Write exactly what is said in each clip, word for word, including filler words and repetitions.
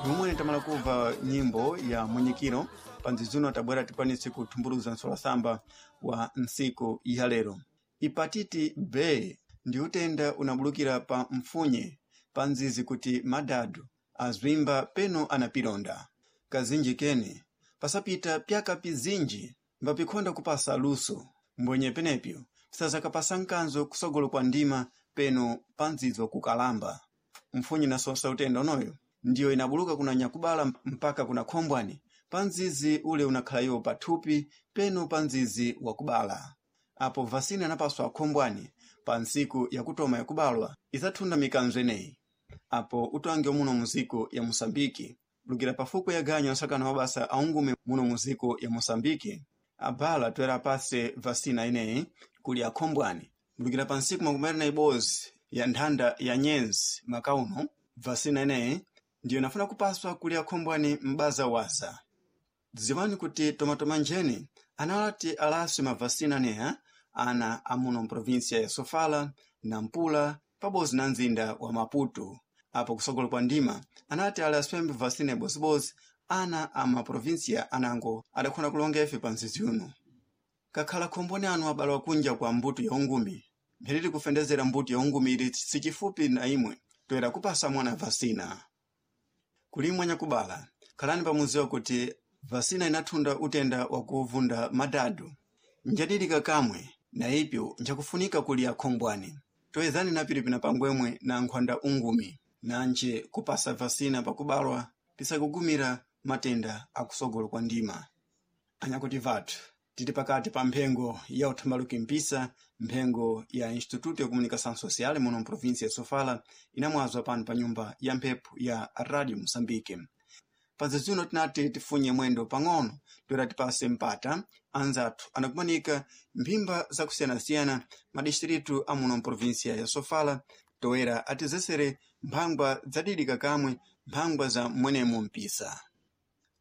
Yomwe tamala kubva nyimbo ya mwenyekiro panzizuno tabwera tikwanise kuthumbuluza msolasamba wa ntsiku ya lero. Hepatiti B ndi utenda unabulukira pa mfunye pa nzizi kuti madadu azwimba peno anapilonda. Kazinji kene pasapita pyaka pizinji mbapikhonda kupasa luso mbwenye penepyo pisazakapasa mkanzo kusogolo kwa ndima peno pa nzizi kukalamba. Mfunye nasosa utenda unoyo ndiyo inabuluka kuna nyakubala mpaka kuna khombwani pa nzizi ule unakhala iwo pathupi peno pa nzizi wakubala. Apo vasina anapaswa akhombwani pa ntsiku yakutoma yakubalwa idzathunda mikanzo ineyi. Apo utange muno muziko ya Mosambiki lukira pafuko ya ganyo nsakano mabasa aungume muno muziko ya Mosambiki abala toera apase vasina ineyi kuli akhombwani lukira pa ntsiku makumi awiri na ibodzi ya nthanda ya nyenzi maka uno vasina ineyi ndiyo inafuna kupaswa kuli akhombwani m'baza waza. Dziwani kuti tomatoma njeni analati alaswe mavasina aneya ana amuno mprovinsia ya Sofala, Nampula pabodzi na mzinda wa Maputo. Apo kusogolo kwa ndima anati alaswembe vasina ibozibodzi ana a maprovinsia anango adakhona kulonga ife pa mzizi uno. Kakhala khombwani anu abalawa kunja kwa mbuto ya ungumi mpheriri kufendezera mbuto ya ungumi ili sichifupi na imwe toera kupasa mwana vasina. Kulimwa nyakubala khalani pamuziwa kuti vasina inathunda utenda wakuvunda madadu njadilika kamwe na ipyo njakufunika kuli akhombwani toyezani na pili pangwemwe na nkhwanda ungumi nanje kupasa vasina pakubalwa pisakugumira matenda akusogolo kwa ndima. Anyakuti vathu tili pakati pa mphengo ya uthambaluki mpisa mphengo ya Instituto ya Comunicação Social muno mprovinsia ya Sofala inamwazwa pano pa nyumba ya mphepo ya Radio Mosambike. Panzizuno tinati tifunye mwendo pang'ono toera tipase mpata anzathu anakumanika mphimba zakusiyanasiyana madistritu amuno mprovinsia ya Sofala toera atizesere mphangwa zadidika kamwe mphangwa za mwenemo mpisa.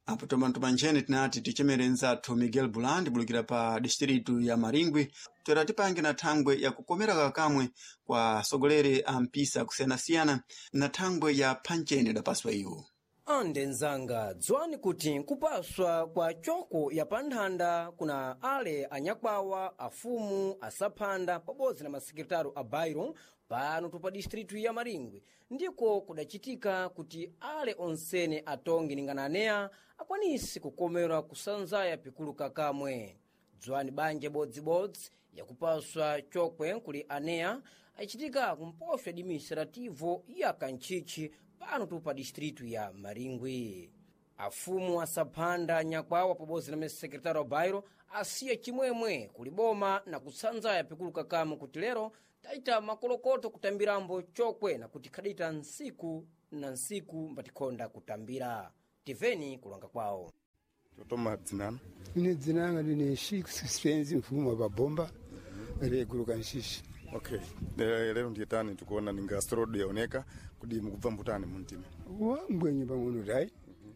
Apo tomatoma njene tinati tichemere nzathu Miguel Buland bulukira pa distritu ya Maringwi toera tipange na thangwe ya kukomera kakamwe kwa asogoleri a mpisa kusiyanasiyana na thangwe ya phanchene idapaswa iwo. Ande nzanga dziwani kuti kupaswa kwa choko ya panthanda kuna ale anyakwawa afumu asaphanda pabodzi na masekretaro a bairo pano tupa distritu ya Maringwe ndiko kudacitika kuti ale onsene atongi ningana aneya akwanise kukomerwa kusanzaya pikulu kakamwe. Dziwani banja bodzibodzi yakupaswa chokwe kuli aneya acitika kumposho administrativo ya Kantchitchi pano tupa distritu ya Maringwe. Afumu asaphanda nyakwawa pabodzi na masekretaro a bairo asiya chimwemwe kuli boma na kutsanzaya pikulu kakamwe kuti lero taita makolokoto kutambirambo chokwe na kuti khadita nsiku na nsiku mbatikhonda kutambira. Tiveni kulonga kwawo. Totoma dzinano Ine dzina langa ndine Spenzi mfumu wa Babomba reguluka Nshishi. Okay, Le- lero ndiye tani tikuona ninga asteroid yaoneka kudi mukubva mbutani muntima Wambwenye pang'ono tayi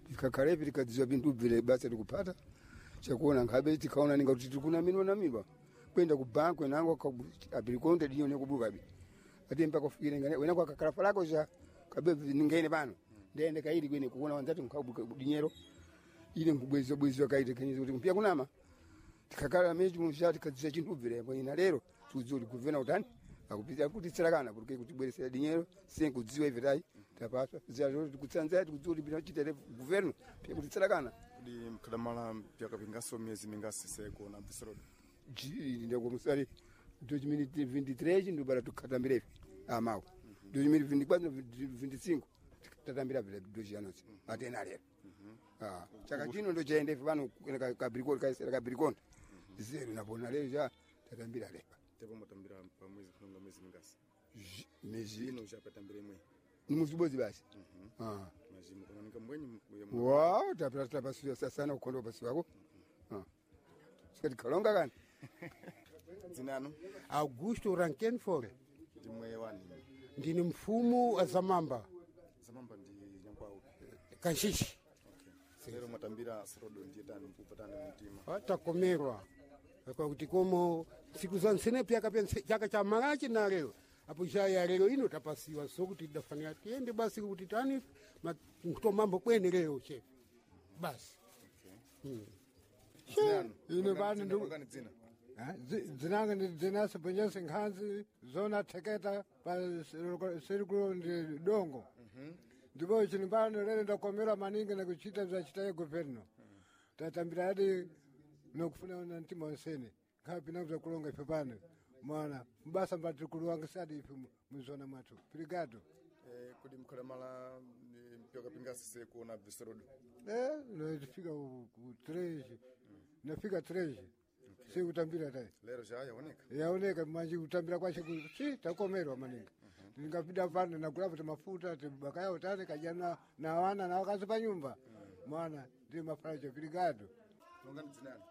tikakhalepi tikadziwa pinthu bvile basa tikupata chakuona nkhabe tikaona ninga kuti tikunaminwa naminwa kwenda ku banku enango apilikonde dinyone kubukabi ati mpaka ufikire ngane wenako akakhala falako cha kabe ningaine pano ndiyende kaili kwene kuona wanzati nkhabuka dinyero ine nkubwezwa bwezwa kaite kenyeza kuti mpya kunama tikakhala mechi musha tikadziwa chinthu bvile ina lero tikudziwa kuti guvena utani akupita kuti tsirakana kuti kutibweresera dinyero senkudziwa ife tayi tapaswa zia tikutsanzaya tikudziwa kuti pina chitere guverno pya kuti tsirakana kudi mkhadamala pyakapingaso miyezi mingasi sekuona asteroid ndakomusari dois mil vinte e três ndobara tukatambira ife amawo dois mil vinte e quatro vinte e cinco tatambira vile dois anos atena lero Ah, chaka chino ndochaenda ife pano kabrikoni kabrikonda zero napona lero cha tatambira lepa tepo mutambira pa mwezi kulonga mwezi mingasi mezi ino chapatambira imwe ni muzibodzi basi Ah. majimu kunaoneka mbwenyi mu- Wow, tapira tapasuya sana kukonda pasi wako. Ah. Sikati kalonga kani. dzinano Augusto Rankenfore ndimwe wani ndini mfumu wa Zamamba zamamba ndi nyankwawo Kanshishi okay lero mwatambira asteroid ndiye tani mukubva tani muntima takomerwa kwakuti komo ntsiku za nsene pyaka pya chaka cha malachi na lero Apo ja ya lero ino tapasiwa so kuti dafanira tiende basi kuti tani nkutomambo kwene lero chefe basi. Ine bani ndu- Longani dzina. Dzinanga ndi dzinasa bwenyese nkhanzi zona theketa pa sirikulo ndi dongo ndipo chini pano lero ndakomera maningi nakuchita bzachitaye governo tatambira adi nokufuna na mtima wonsene nkhapi nakubza kulonga ife pano mwana mbasa mbati kuluwangisadi ife mu- muzona mwathu pirigado. Eh, kodi mukhalamala eh, mpyoka pingasise kuona bvisorodo? Eh, nafika ku ku três, nafika três sikutambira tayi. Lero ja yaoneka. Yaoneka manje kutambira kwache ku- si takomerwa maningi ndingapita pano nagulapo timafuta tibakayawo tane kadya na na wana na wakazi pa nyumba mwana ndi mafalacho pirigado. Longani dzinani.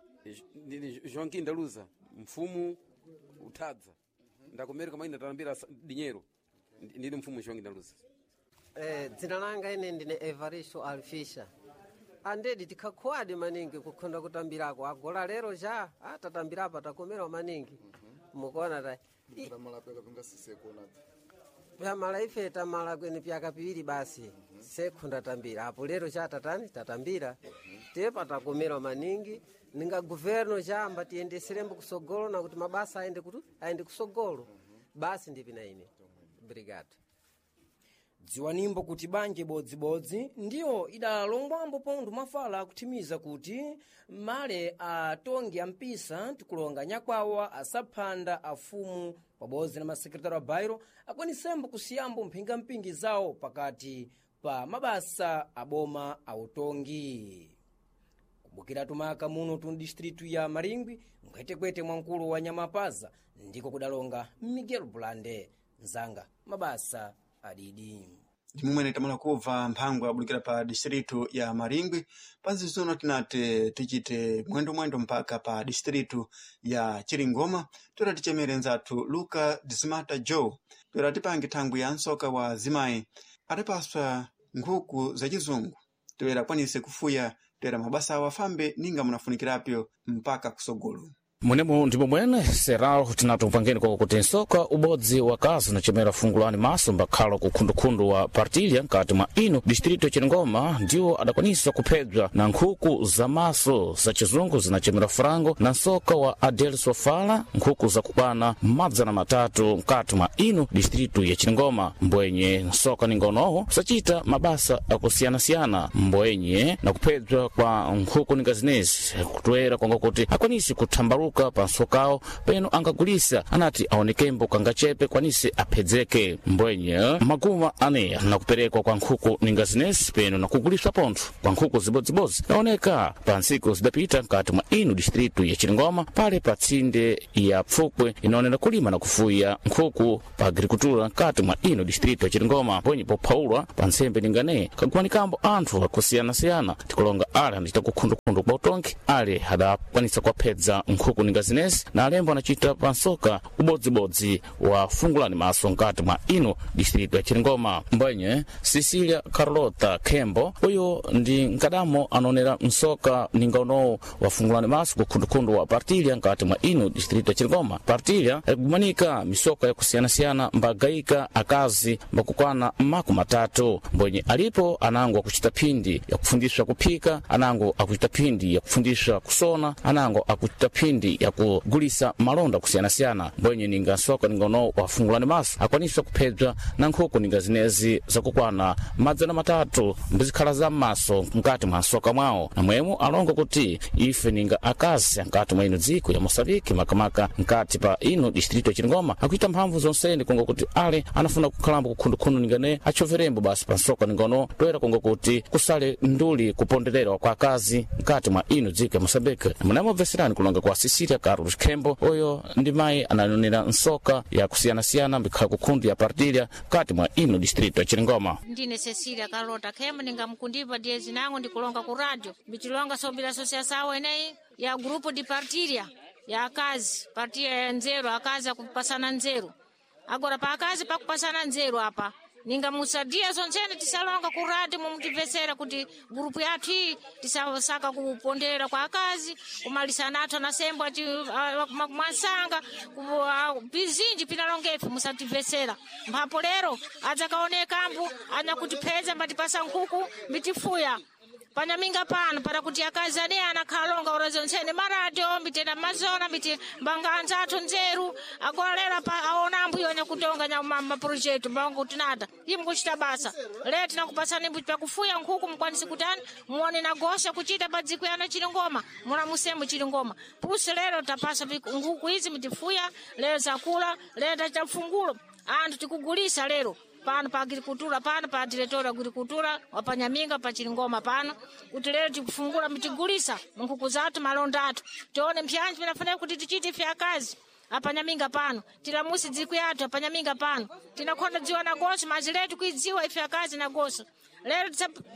Ndini Joaquim Ndaluza, mfumu utadza ndakomereka maina talambira sa- dinyero. Ndi- ndini mfumu Joaquim Ndaluza. Eh, dzina langa ine ndine Evaristo Alfisha. Andedi tikhakuwadi maningi kukhonda kutambirako agola lero ja atatambirapa takomerwa maningi mukuona ta I- Mukhalamala pyoka pingasise kuona bvi. pyamala ife tamala kwene pyaka piwiri basi sekhunda tambira apo lero cha tatani tatambira tepa takomerwa maningi ninga guverno chamba tiyendeserembo kusogolo na kuti mabasa aende kutu aende kusogolo basi ndipina ine brigade. Dziwanimbo kuti banja ibodzibodzi ndiyo idalongwambo pontho mafala akuthimiza kuti male atongi ampisa tikulonga nyakwawa asaphanda afumu pabodzi na masekretari a bairo akwanisembo kusiyambo mphingampingi zawo pakati pa mabasa aboma autongi. Kubukira tumaka muno tu distritu ya Maringwi mkwetekwete mwa mkulu wa Nyamapaza ndiko kudalonga Miguel Bulande nzanga mabasa adidi. Ndimumwene tamala kubva mphangwa abulikira pa distritu ya Maringwi panzizono tinati tichite mwendo-mwendo mpaka pa distritu ya Chiringoma toera tichemere nzathu Luka Dismata Joe toera tipange thangwi ya nsoka wa zimayi atapaswa nkhuku za chizungu toera akwanise kufuya toera mabasa awo afambe ninga munafunikirapyo mpaka kusogolo. Munemo ndipo mwene serau tinatupangeni kwa kuti nsoka ubodzi wa kazi unachemera fungulani maso mbakhala kukhundukhundu wa Partilha nkati mwa ino distrito ya Chiringoma ndiwo adakwanisa kuphedzwa na nkhuku za maso za chizungu zinachemera frango na nsoka wa Adel Sofala nkhuku zakukwana madzana matatu nkati mwa ino distrito ya Chiringoma. Mbwenye nsoka ningonowo sachita mabasa akusiyanasiyana mbwenye na kuphedzwa kwa nkhuku ninga zinezi kutwera kwanga kuti akwanise kuthambaluka pa nsokawo peno angagulisa anati aonekembo kangachepe kwanise aphedzeke. Mbwenye maguma ane nakuperekwa kwa nkhuku ninga zinezi peno nakuguliswa pontho kwa nkhuku zibodzibodzi naoneka pa ntsiku zidapita nkati mwa ino distritu ya Chiringoma pale pa tsinde ya Pfukwe inaonera kulima na kufuya nkhuku pa agricultura nkati mwa ino distritu ya Chiringoma. Mbwenye pophaulwa pa ntsembe ningane kaguwanikambo anthu akusiyanasiyana tikulonga ale anachita kukhundukhundu kwa utongi ale adakwanisa kuwaphedza nkhuku ninga zinezi na alembo anachita pa nsoka ubodzibodzi wa fungulani maso nkati mwa ino distritu ya Chiringoma. Mbwenye Cecilia Carlota Khembo uyu ndi nkadamo anaonera msoka ninga unowu wa fungulani maso kukhundukhundu wa Partilha nkati mwa ino distritu ya Chiringoma. Partilha ikumanika misoka yakusiyanasiyana mbagayika akazi mbakukwana makumi matatu. Mbwenye alipo anango akuchita phindi yakufundiswa kuphika, anango akuchita phindi yakufundiswa kusona, anango akuchita phindi yakugulisa malonda kusiyanasiyana. Mbwenye ninga nsoka ninga unowu wafungulani maso akwaniswa kuphedzwa na nkhuku ninga zinezi zakukwana madzana matatu mbizikhala za m'maso mkati mwa nsoka mwawo. Namwemo alongo kuti ife ninga akazi nkati mwa ino dziko ya Mosambiki makamaka nkati pa ino distrito ya Chiringoma akuita mphamvu zonsene kunga kuti ale anafuna kukhalambo kukhundukhundu ningane achoverembo basi pa nsoka ningono toera kunga kuti kusale nduli kupondererwa kwa akazi mkati mwa ino dziko ya Mosambiki. Munamobveserani kulonga kwa Cecilia Carlos Khembo uyo ndi mayi ananonera nsoka yakusiyanasiyana mbikhala kukhundu ya Partilha mkati mwa ino distrito ya Chiringoma. Ndine Cecilia Carlota Khembo ningamkundipa diye zinango ndikulonga ku radio mbichilonga sobila associação eneyi ya grupo de partilha ya akazi partilha ya nzeru akazi akupasana nzeru agora pa akazi pakupasana nzeru apa Ninga musadia zonzene tisalonga ku radio mumutivesera kuti grupu yathu iyi tisasaka kupondera kwa akazi kumalisana athu anasembo achi mwansanga pizinji pinalongefe musativesera mphapo lero adzakaoneka ambu anyakutipeza mbatipasa nkhuku mbitifuya panyaminga pano para kuti akazi ane anakhalonga ora zontsene maradio mbitenda mazona mbiti mbanga anzathu nzeru agora lero pa aona ambuyo anyakutonga nya maprojekto mbanga kuti nada iye mukuchita basa lero tinakupasani mbuti pakufuya nkhuku mukwanisi kutani muone nagosha kuchita pa dziko yano chilingoma muna musemu chilingoma pusi lero tapasa nkhuku izi mutifuya lero zakula lero tachita mfungulo anthu tikugulisa lero pano pa agricultura pano pa diretor agricultura wapanyaminga pa chilingoma pano kuti lero tikufungula mitigulisa munkhuku zathu malonda athu tione mpyanji pinafanira kuti tichite ife akazi apanyaminga pano tilamusi dziko yathu apanyaminga pano tinakhonda dziwa nagoso mazi letu kuidziwa ife akazi nagoso lero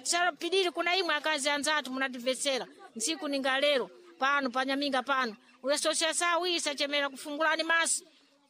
tisapidiri kuna imwe akazi anzathu munatimvetsera ntsiku ninga lero pano panyaminga pano uyasosiasawu isachemera kufungulani maso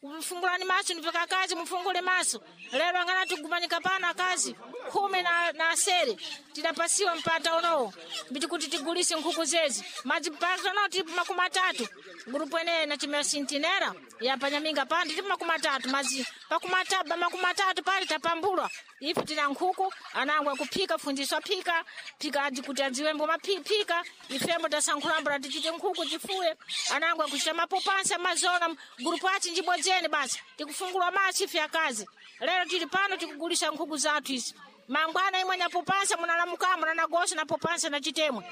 mfungulani maso nipeka akazi mufungule maso lero angana tigumanika pano akazi khumi na, na asere tidapasiwa mpata unowo mbiti kuti tigulise nkhuku zezi madzi mpata unowo tilipo makumi atatu gurupu eneyi nachimera sintinera yapanyaminga pano tilipo makumi atatu madzi pakumi atatu makumi atatu pali tapambulwa ife tina nkhuku anangu akuphika fundiso aphika phika adi kuti adziwembo maphika ifembo tasankhulambula tichite nkhuku tifuye anangu akuchita mapopansi amazona gurupu achi njibodzeni basi tikufungulwa maso ife akazi lero tili pano tikugulisa nkhuku zathu izi mangwana imwe nyapopansa munalamukamo nanagosa napopansa na chitemwe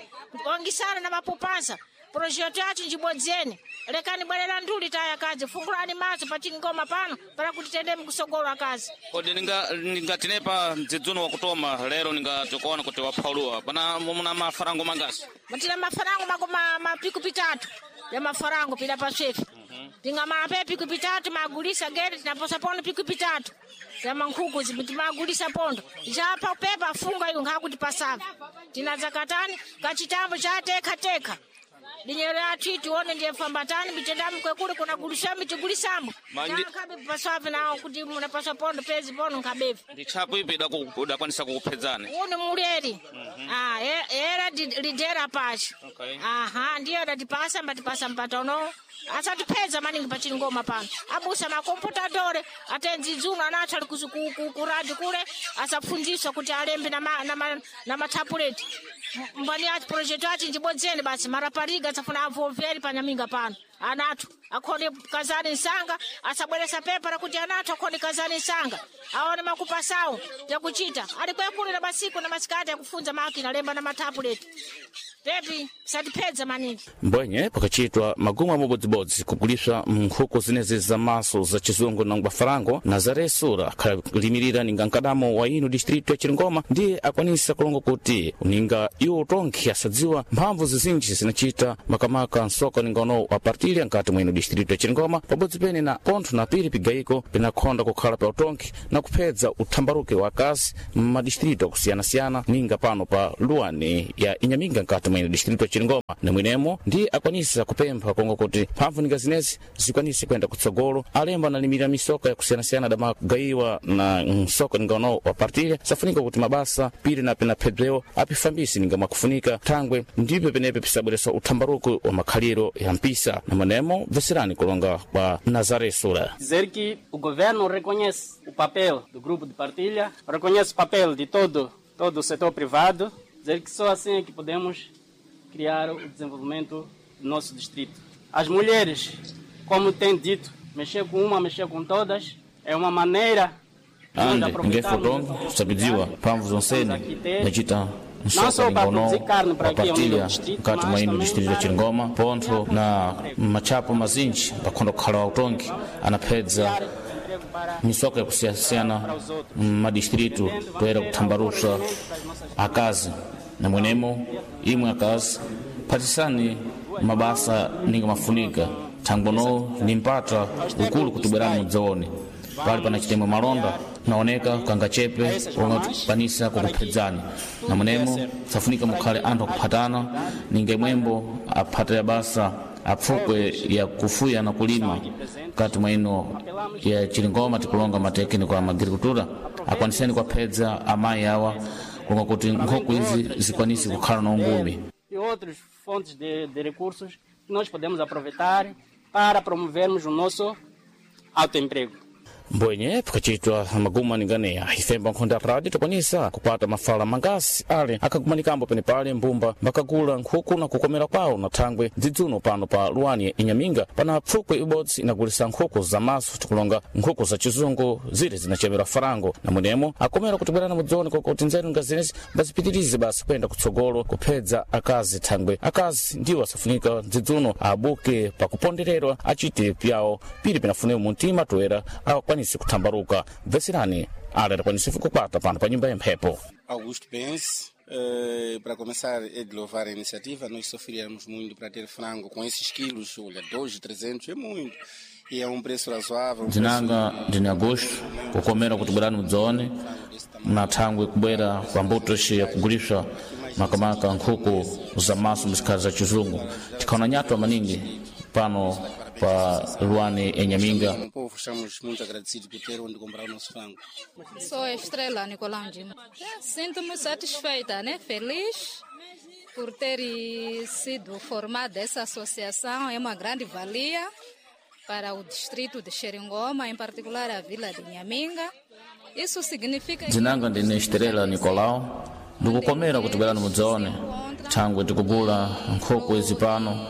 ongisana na mapopansa projeto yacho njibodzeni lekani bwerera nduli taya kazi fungulani maso pachingoma pano para kuti tendeme kusogolo akazi kodi ninga ningatinepa mdzidzuno wakutoma lero ningatikuona kuti waphauluwa pana muna mafarango mangasi matina mafarango mako ma, mapiku pitatu ya mafarango pila paswefe tingamape piku pitatu magulisa gere tinaposa pondo piku pitatu ya mankhuku timagulisa pondo chapa pepa funga iyo nkhakuti pasava tinadzakatani kachitambo cha tekha tekha dinyero yathu tione ndiye fambatani mitendamu kwekule kuna gulisamo tigulisamo nkhabe paswapi nawo kuti munapaswa pondo pezi pondo nkhabevi ndi tchapo ipi idaku- idakwanisa kukuphedzani uni muleri ah e- era di- lidera pachi Okay. aha ndiyo adatipasa mbatipasa mpata unowo asatipedza maningi pachingoma pano abusa makomputadore atenzi dzuno anathu ali kuzi- ku- ku- ku radio kule asapfundziswa kuti alembe na ma- na ma- na mathapuleti M- mbani ati projekti achi njibodzeni basi marapariga asafuna avoveri panyaminga pano anathu akhone kazani nsanga asabweresa pepa rakuti anathu akhone kazani nsanga aone makupasawo yakuchita ali kwekule na masiku na masikati akufunza makina alemba na mathapuleti pepi satipedza maningi mbwenye pakachitwa magumu amobodzibodzi kuguliswa nkhuku zinezi zamaso za chizungu na ngwafarango nazare sura akhalimirira ninga mkadamo wa ino distrito ya chiringoma ndiye akwanisa kulonga kuti ninga iwo tonkhe asadziwa mphamvu zizinji zinachita makamaka msoka ninga uno wa partilha nkati mwa ino distrito ya chiringoma pabodzi pene na pontho na pili pigayiko pinakhonda kukhala pa utonkhe na kuphedza uthambaruke wa akazi m'madistrito akusiyana-siyana ninga pano pa luwani ya inyaminga nkati mwa ino distrito ya chiringoma namwenemo ndi akwanisa kupempha konga kuti mphamvu ninga zinezi zikwanise kuyenda kutsogolo alemba analimira misoka yakusiyanasiyana damagayiwa na msoka ninga uno wa partilha safunika kuti mabasa pili na pinaphedzewo apifambise ninga mwakufunika thangwe ndipo penepe pisabweresa uthambaruko wa makhaliro ya mpisa namwenemo bveserani kulonga kwa nazare sura Dizer que o governo reconhece o papel do grupo de partilha, reconhece o papel de todo, todo o setor privado, dizer que só assim é que podemos criar o desenvolvimento do nosso distrito. As mulheres, como tem dito, mexer com uma, mexer com todas, é uma maneira de nós ande aproveitarmos ngefotongo sabidziwa mphamvu zonsene nachita Não msoka só para ningono produzir carne para wa aqui ao nível partilha do distrito, mkati mwa mas ino também distrito ya para chiringoma pontho na machapo mazinji pakhonda kukhala wautongi anaphedza misoka yakusiyana-siyana m'madistritu toyera kuthambalusa akazi namwenemo imwe akazi phatisani mabasa ninga mafunika thangweno ni mpata ukulu kuti bwerani mudzaone pali pana chitemwe malonda naoneka kangachepe omwe tikwanisa kukuphedzani namwenemo safunika mukhale anthu akuphatana ninga imwembo aphatira basa apfukwe ya kufuya na kulima kati mwa ino ya chilingoma tikulonga matekiniko a agricultura Akwaniseni kwaphedza amayi awa kulonga kuti nkhuku izi zikwanise kukhala na ungumi. E outras fontes de, de recursos que nós podemos aproveitar para promovermos o nosso autoemprego. Mbwenye pakachitwa maguma ninganeya ifemba nkhonda ya rádio takwanisa kupata mafala mangasi ale akagumanikambo penepale mbumba mbakagula nkhuku na kukomera kwawo na thangwe dzidzuno pano pa luwani inyaminga pana pfukwe ibodzi inagulisa nkhuku za maso, tikulonga nkhuku za chizungu zire zinachemera farango, na mwenemo akomera kuti bwerana mudzione kokuti nzeru nga zinezi mbazipitirize basi kuyenda kutsogolo kuphedza akazi, thangwe akazi ndiwo asafunika dzidzuno abuke pakupondererwa, achite pyawo pili pinafunewo muntima toera akwanise kuthambaruka. Bveserani ale adakwanise kukwata pano pa nyumba ya mphepo. Augusto Benz. Eh, para começar, é de louvar a iniciativa. Nós sofríamos muito para ter frango com esses quilos. Olha, dois, trezentos é muito. E é um preço razoável. Um Dzinanga ndine Agosto, kukomera kuti bwerani mudzione na thangwe kubwera kwa mbuto ici yakuguliswa makamaka nkhuku za maso mzikhala za chizungu, tikhaona nyatwa maningi pano pa luwani enyaminga. Como povo, estamos muito agradecidos por ter onde comprar o nosso frango. Sou a Estrela Nicolangino. Sinto-me satisfeita, né? Feliz por ter sido formada essa associação. É uma grande valia para o distrito de Xeringoma, em particular a vila de Nhaminga. Isso significa que Dzinanga ndine Estrela Nicolau, ndikukomera kuti bwerani mudzione thangwe tikugula nkhuku izi pano,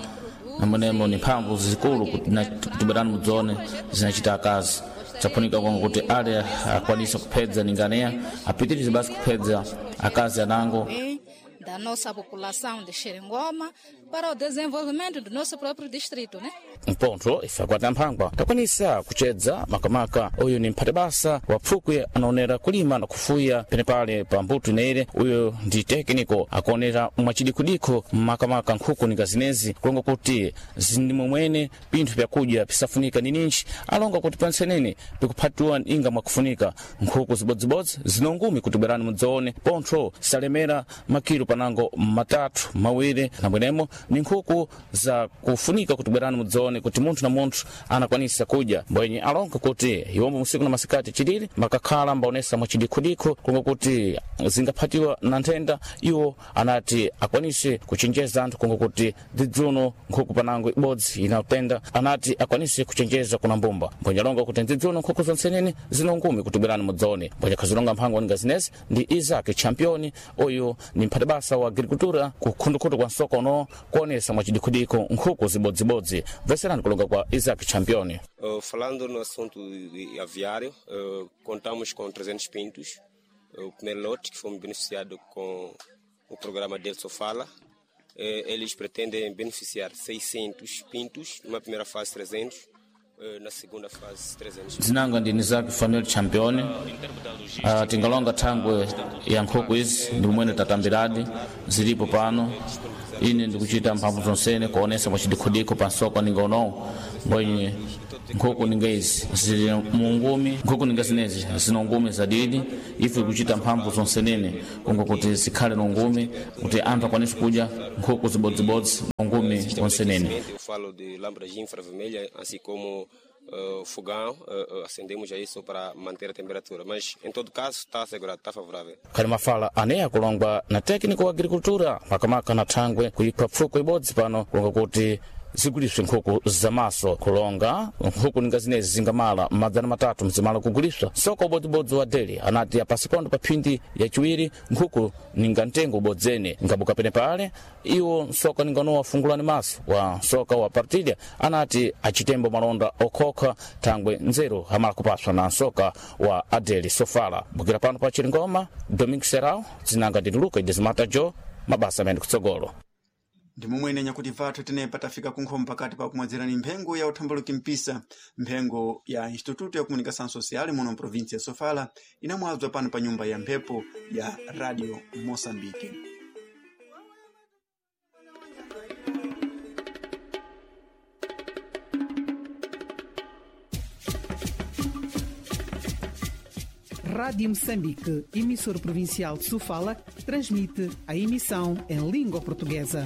namonemo ni mphamvu zikulu kuti na- kuti bwerani mudzione zinachita akazi chafunika kwanga kuti ale akwanisa kuphedza ninganeya apitirize basi kuphedza akazi anango bem da nossa população de Xeringoma para o desenvolvimento do nosso próprio distrito, né? Mpontho ife akwata mphangwa takwanisa kuchedza makamaka uyu ni mphatibasa wa pfukwe anaonera kulima na kufuya penepale pa mbuto ineire. Uyu ndi tekiniko akuonera mwachidikudikho makamaka nkhuku ninga zinezi kulonga kuti zindimomwene pinthu pyakudya pisafunika nininji, alonga kuti pansenene pikuphatiwa inga mwakufunika nkhuku zibodzibodzi zinongumi kuti bwerani mudzaone pontho salemera makilo panango matatu mawiri, nambwenemo ni nkhuku za kufunika kuti bwerani mudzaone kuti munthu na munthu anakwanisa kudya. Mbwenye alonga kuti iwombo musiku na masikati chilili makakhala mbaonesa mwachidikhudikho kunga kuti zingaphatiwa na nthenda, iwo anati akwanise kuchenjeza anthu kunga kuti dzidzuno nkhuku panango ibodzi inatenda, anati akwanise kuchenjeza kuna mbumba. Mbwenye alonga kuti dzidzuno nkhuku zonsenene zinongumi kuti bwerani mudzaone. Mbwenye khazilonga mphango ninga zinezi ndi Isaac Champion, uyu ni mphatibasa wa agricultura kukhundukhutu kwa nsoko uno kuonesa mwachidikhudikho nkhuku zibodzibodzi. Bveserani kulonga kwa Isaac Champion. Uh, falando no assunto de aviário, uh, contamos com trezentos pintos. Uh, o primeiro lote que fomos beneficiado com o programa Del Sofala. Uh, eles pretendem beneficiar seiscentos pintos, numa primeira fase trezentos, uh, na segunda fase trezentos. Dzinanga ndi Isaac Fanuel Champion. Uh, tingalonga thangwe ya nkhuku izi ndi momwene tatambiradi zilipo pano, ine ndikuchita mphamvu zonsene kuonesa mwachidikhudikho pa nsoko ninga unowu, mbwenye nkhuku ninga izi zili mungumi, nkhuku ninga zinezi zina ungumi zadidi, ife kuchita mphamvu zonsenene kunga kuti zikhale na ungumi kuti anthu akwanise kudya nkhuku zibodzibodzi ungumi onsenene. Eu falo de lâmpadas infravermelhas, assim como uh, fogão, uh, uh, acendemos aí só para manter a temperatura. Mas, em todo caso, está assegurado, está favorável. Khali mafala aneya kulongwa na técnico wa agricultura makamaka na thangwe kuyipha pfuko ibodzi pano kulonga kuti ziguliswe nkhuku zamaso, kulonga nkhuku ninga zinezi zingamala madzana matatu mzimala kuguliswa soko ubodzibodzi wa deli, anati apasipondo pa phindi yachiwiri nkhuku ninga mtengo ubodzene ngabuka pene pale iwo nsoka ninganowa fungulani maso wa nsoka wa partilha anati achitembo malonda okhokha thangwe nzeru amala kupaswa na nsoka wa adeli sofala. Bukira pano pa Chilingoma, Domingo Serau, dzinanga ndini Luka Idezimata Jo, mabasa amene kutsogolo. Ndi momwene nyakuti vathu tenepa tafika kunkhomo pakati pa kumwedzerani mphengo ya uthambaluki mpisa, mphengo ya Instituto ya Comunicação Social muno mprovinsi ya Sofala, inamwadzwa pano pa nyumba ya mphepo ya Radio Moçambique. Rádio Moçambique, emissora provincial de Sofala, transmite a emissão em língua portuguesa.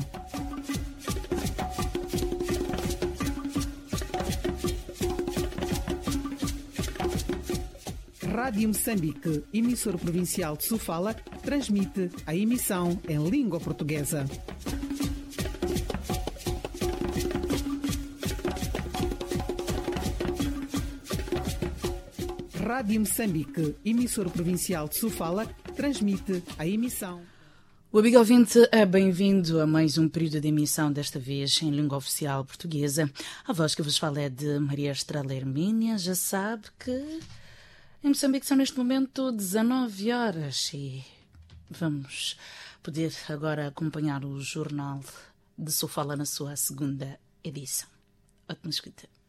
Rádio Rádio Moçambique, emissora provincial de Sofala, transmite a emissão em língua portuguesa. Rádio Moçambique, emissora provincial de Sofala, transmite a emissão. O amigo ouvinte é bem-vindo a mais um período de emissão, desta vez em língua oficial portuguesa. A voz que vos fala é de Maria Estrela Hermínia. Já sabe que em Moçambique são neste momento dezanove horas e vamos poder agora acompanhar o Jornal de Sofala na sua segunda edição. Ótima escuta.